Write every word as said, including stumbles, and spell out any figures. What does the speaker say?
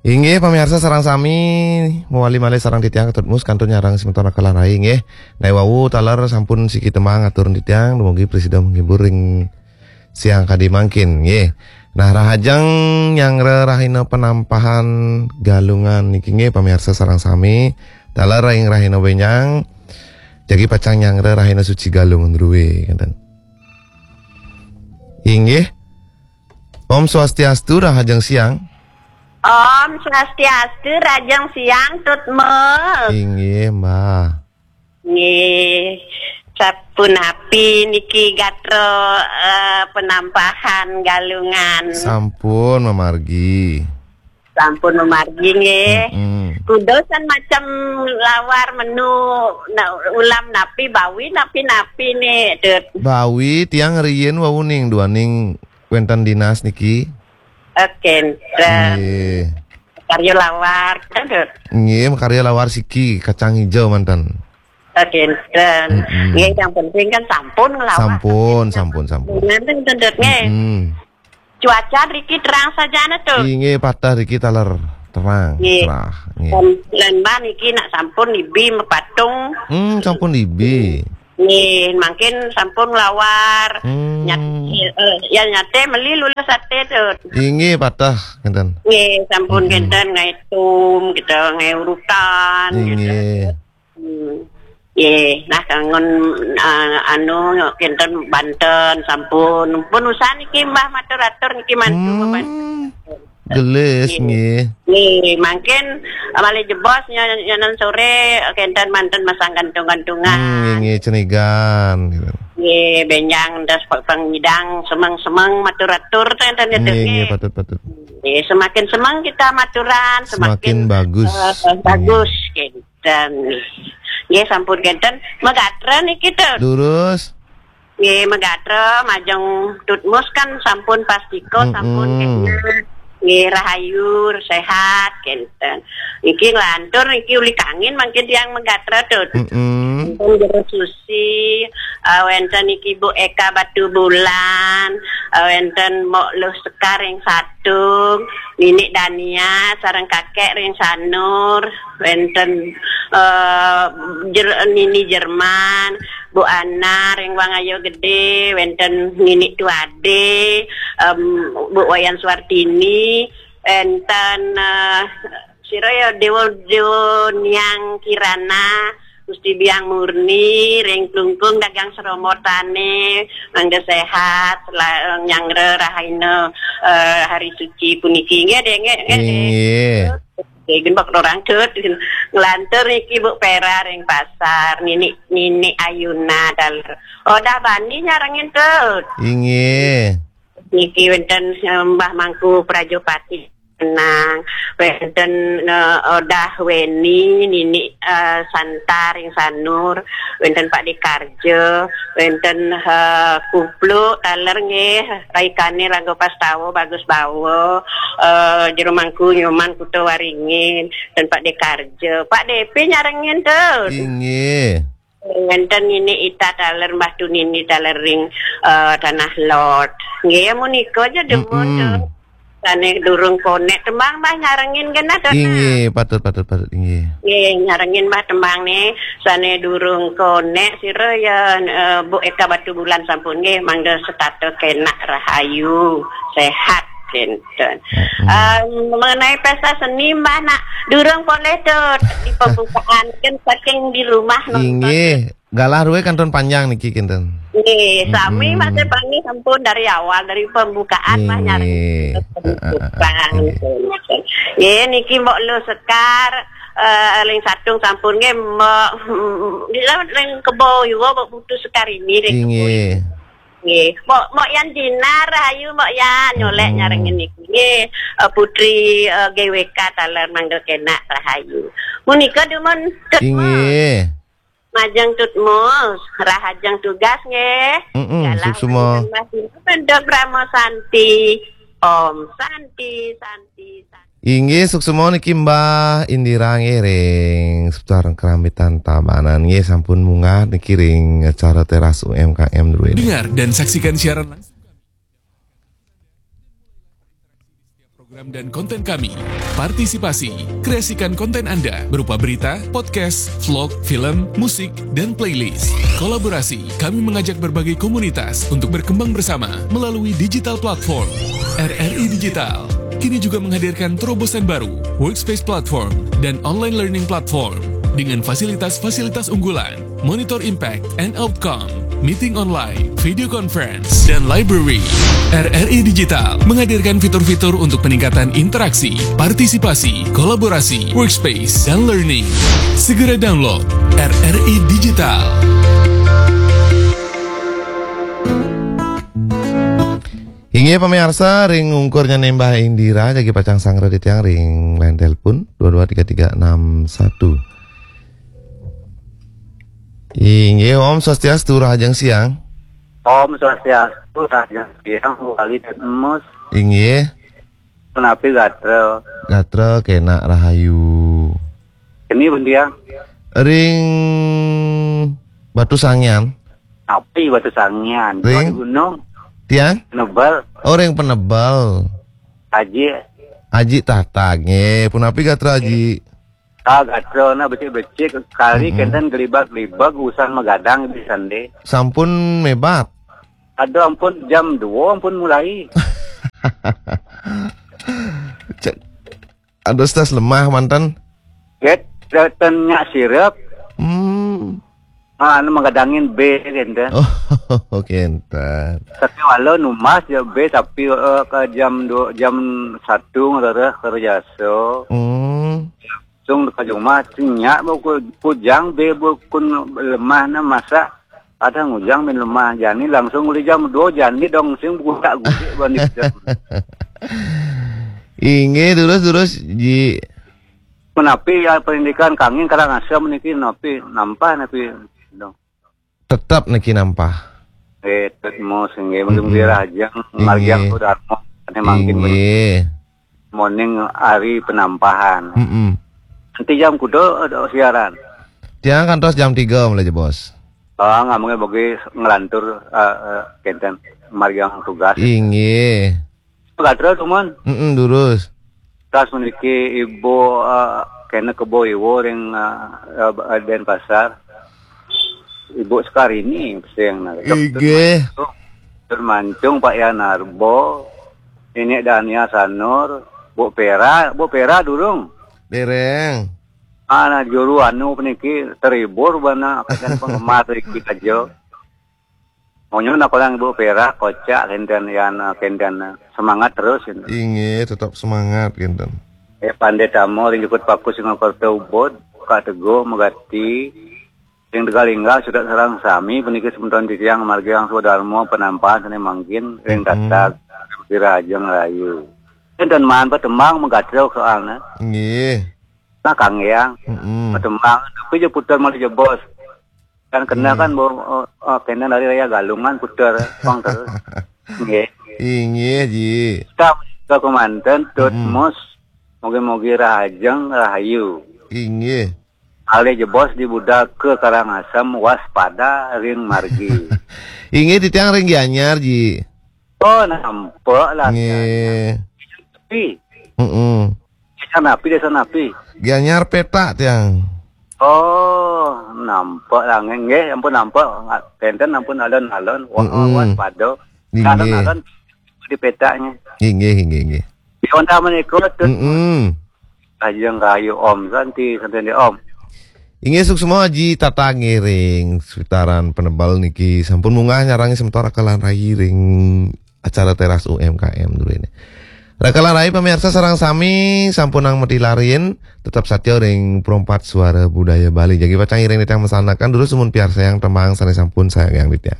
Inggih, pamiarsa sareng sami, mawali malih sareng titiang Ketut Mus kantun nyarengin semeton Raka lan Rai, inggih. Nah, wau taler sampun siki tembang atur titiang, dumugi prasida menghibur ring siang kadi mangkin, nggih. Nah, rahajeng nyanggra rahina penampahan Galungan niki, nggih, pamiarsa sareng sami, taler ring rahina benjang, jagi pacang nyanggra rahina suci Galungan druwe, ngenten. Inggih. Om Swastiastu, rahajeng siang. Om Swastiastu, rahajeng siang, Tut Mus. Inggih, Mbah. Nggih. Sapunapi niki gatra, eh, penampahan Galungan? Sampun mamargi. Sampun mamargi, nggih. Mm-mm. Kuda san macem lawar menu, na-, ulam napi, bawi napi-napi nih, Tut. Bawi tiang riyin wau ning duaning wenten dinas niki. Oke, enten. Nggih. Karya lawar, enten, Tut. Nggih, makarya lawar siki, kacang hijau manten. Oke, enten. Mm-mm. Nggih, yang penting kan sampun ngelawar. Sampun, sampun, sampun. Nggih, enten, Tut, nggih. Mm-mm. Cuaca riki terang sajana, Tut. Inggih, pateh riki taler terang, nggih, cerah, nggih. Lan, lan Mbah niki nak sampun nibi mepatung. Hmm, sampun nibi. Nggih, mangkin sampun nglawar. Hmm. Nyat-, eh, ya nyate meli lulus ate, Tut. Inggih, pateh, ngenten. Nggih, sampun, hmm, ngenten, ngae tum, gitu, ngae urutan, gitu. Inggih. Hmm. Nggih, nah, kangen, eh, anu, kenten banten, sampun. Pun usaha niki, Mbah, matur-atur niki mantu, hmm, mabantu. Gelis, nggih. Nggih. Nggih, mangkin, eh, malih jebos nyo-, nyonan sore, eh, kenten manten masang gantung-gantungan. Hmm, nggih, nggih, cenigan, gitu. Nggih, benjang, terus pe-, pengidang, semeng-semeng, matur-atur, ten-, ten-, gitu, nggih, nggih, nggih. Patut, patut. Nggih, semakin semeng kita maturan, semakin, semakin bagus. Eh, bagus, nggih, gitu. Dan nggih, sampun kenten. Megatra niki, Tut. Lurus. Nggih, megatra, majeng Tut Mus kan sampun pastika, mm-mm, sampun kenten. Nggih, rahayu, sehat, kenten. Niki nglantur, niki uli kangin mangkin tiang megatra, Tut. Mm-mm. Sampun Jero Susi, eh, wenten niki Bu Eka Batu Bulan, eh, wenten Mok Luh Sekar ing Satung, Nini Dania, sareng Kakek ring Sanur, wenten, eh, Jer-, Nini Jerman, Bu Ana ring Wangayo Gede, wenten Nini Tuade, em, Bu Wayan Suartini, wenten, eh, sira ya Dewa, Dewa Niang Kirana, Gusti Biang Murni, ring Klungkung dagang sromotane, mangga sehat, la-, nyanggra rahina, eh, hari suci puniki. Nggih, Dek, nggih, nggih, Dek. Inggih. Nggih, gin bak orang, Tut. Nglantur niki Bu Pera ring pasar, Nini, Nini Ayuna taler. Odah bani nyarengin, Tut. Inggih. Niki wenten, eh, Mbah Mangku Prajopati. Nang, wenten, eh, Odah Weni, Nini, eh, Santa ring Sanur, wenten Pak Dikarjo, wenten, eh, Kupluk taler nggih, Raikane Raga Pastawa, Bagus Bawa, eh, Jero Mangku Nyoman Kuta Waringin, dan Pak Dikarjo. Pak Depi nyarengin, Tut. Inggih. Wenten Nini Ita taler, Mbah Tunini taler ring, eh, Tanah Lot. Nggih, munika aja demun, mm-mm, Tut. Sane durung konek tembang, Mbah, nyarengin genah, Tut. Inggih, patut, patut, patut, inggih. Nggih, nyarengin, Mbah, tembang nih. Sane durung konek sira ya, eh, Bu Eka Batu Bulan sampun nggih, mangga setata kenak rahayu, sehat kenten. Mm-mm. Eh, mengenai pesta seni, Mbah, nak durung poleh, Tut, di pembukaan kan saking di rumah nonton. Inggih. Galah ruwe kantun panjang niki kinten. Nggih, sami, mm-mm, masih panggih sampun dari awal, dari pembukaan, Mbah, nyari. Nggih. Pembukaan. Heeh, heeh, heeh. Nggih. Nggih, niki Mbok Luh Sekar, eh, ring Satung sampun nggih, Mbok, mm, ring Kebo Iwa, Mbok Putu Sekar ini ring Kebo Iwa. Inggih. Nggih. Mbok, Mbok Yan Dinar, rahayu Mbok Yan, nyolek, mm-mm, nyarengin niki. Nggih, eh, Putri, eh, G W K taler mangga kenak rahayu. Munika dumun, Tut Mus. Inggih. Majeng Tut Mus, rahajeng tugas nggih. Mm-mm, galah suksma. Majeng Mas Dino Pendok Brahma Santi. Om Santi, Santi, Santi. Inggih, suksma niki Mbah Indira nggih ring Seputar Kerambitan Tabanan nggih, sampun munggah niki ring acara teras U M K M dua ini. Dengar dan saksikan siaran langsung. Program dan konten kami. Partisipasi. Kreasikan konten Anda berupa berita, podcast, vlog, film, musik, dan playlist. Kolaborasi. Kami mengajak berbagai komunitas untuk berkembang bersama melalui digital platform. R R I Digital kini juga menghadirkan terobosan baru, Workspace Platform dan Online Learning Platform dengan fasilitas-fasilitas unggulan, monitor impact and outcome, meeting online, video conference, dan library. R R I Digital menghadirkan fitur-fitur untuk peningkatan interaksi, partisipasi, kolaborasi, workspace, dan learning. Segera download R R I Digital. Inggih pamiarsa, ring ungkur nyané Mbah Indira, jagi pacang sangra titiang ring line telepon dua dua tiga tiga enam satu. Inggih, Om Swastiastu, rahajeng siang. Om Swastiastu, rahajeng siang, Wali dan Emus. Inggih. Punapi gatra? Gatra kénak rahayu. Keni pun tiang? Ring Batu Sangian. Napi Batu Sangian? Ring? Di gunung. Tiang? Penebel. Oh, ring Penebel. Aji. Aji Tatag, nggih. Punapi gatra Aji? Ah, gatra na becik-becik, kari Mm-mm. Kénten gelibag-gelibag, usan magadang di sandé. Sampun mébat? Aduh, ampun, jam dua ampun mulai. Cek, aduh, stres lemah manten. Get, ten nyak sirep. Hmm. Ah, anu magadangin bé kénten. Oh, kénten. Tapi walau numbas ya bé, tapi eh, ke jam dua, jam satu ngelereh kerja so. Hmm. Langsung ka jumah, nyak ku, kujang bé bukun lemah na masa. Ada ngujang bin lemah jani langsung uli jam dua jani dong sing budak gudik bani. Inggih, durus, durus, Ji. Menapi ya pendidikan kangin Karangasem niki napi nampah napi dong. Tetep niki nampah. Eh, tetep mos nggih, mungkin Mm-mm. Wirajeng, Inggih. Margiang Sudarmo, ane mangkin Inggih. Morning ari penampahan. Mm-mm. Nanti jam kuda ada siaran. Tiang kantos jam tiga mulai, Bos. Ah, ngamungnya bagi ngelantur eh, eh, kenten margiang tugas. Inggih. Gatra tuh, Mon. Mm-mm, durus. Tas memiliki ibu eh, kena kebo iwo ring eh, eh, Denpasar. Ibu Sekarini sing nah. Inggih. Tur Mancung Pak Yanarbo, Nenek Dania Sanur, Bu Pera, Bu Pera durung. Dereng. Ana juru anu peniki terhibur bana akan penggemar iki aja. Maunya nak orang Ibu Pera kocak kenten yan kenten semangat terus. Inggih, tetap semangat kenten. Eh Pandé Tamo ring Jukut Paku Singapura Ubud, Kak Teguh Megati, ring Tegalingga sudah sareng sami peniki semeton titiang margiang Sudarmo penampahan sane mangkin ring Mm-mm. Tatag Wirajeng Rayu. Enten maan petembang megatrok soalnya. Nggih. Nah, Kang Yang. Mm-mm. Petembang, tapi je putar malah jebos. Kan kena Nggih. Kan bawa oh, oh, kena dari Raya Galungan putar pang terus. Nggih. Inggih, Ji. Kita ke manten tut Mm-mm. Mus. Mogi-mogi rahajeng rahayu. Inggih. Alih jebos di budak ke Karangasem waspada ring margi. Inggih titiang ring Gianyar, Ji. Oh, nampak lah. Nggih. Tapi, Mm-mm. Desa napi, desa napi? Gianyar Petak tiang. Oh, nampak lah nggih, ampun nampak. Tenten ampun alon-alon. Wah, Mm-mm. Waspada. Inggih. Alon-alon di petaknya. Inggih, inggih, inggih. Di Honda menika tut. Mm-mm. Ajeng rahayu Om Santi, Santi Om. Inggih suksma Ji Tata ngiring sekitaran Penebel niki sampun munggah nyarangi semeton Rakalan Rai ring acara Teras U M K M dulu ini. Rakalan Rai pemirsa sareng sami sampunang mati larin, tetap satya ring Perompat Suara Budaya Bali. Jagi pacang iring titiang masanakan dulu sumun piarsayang tembang sane sampun sayang ditya.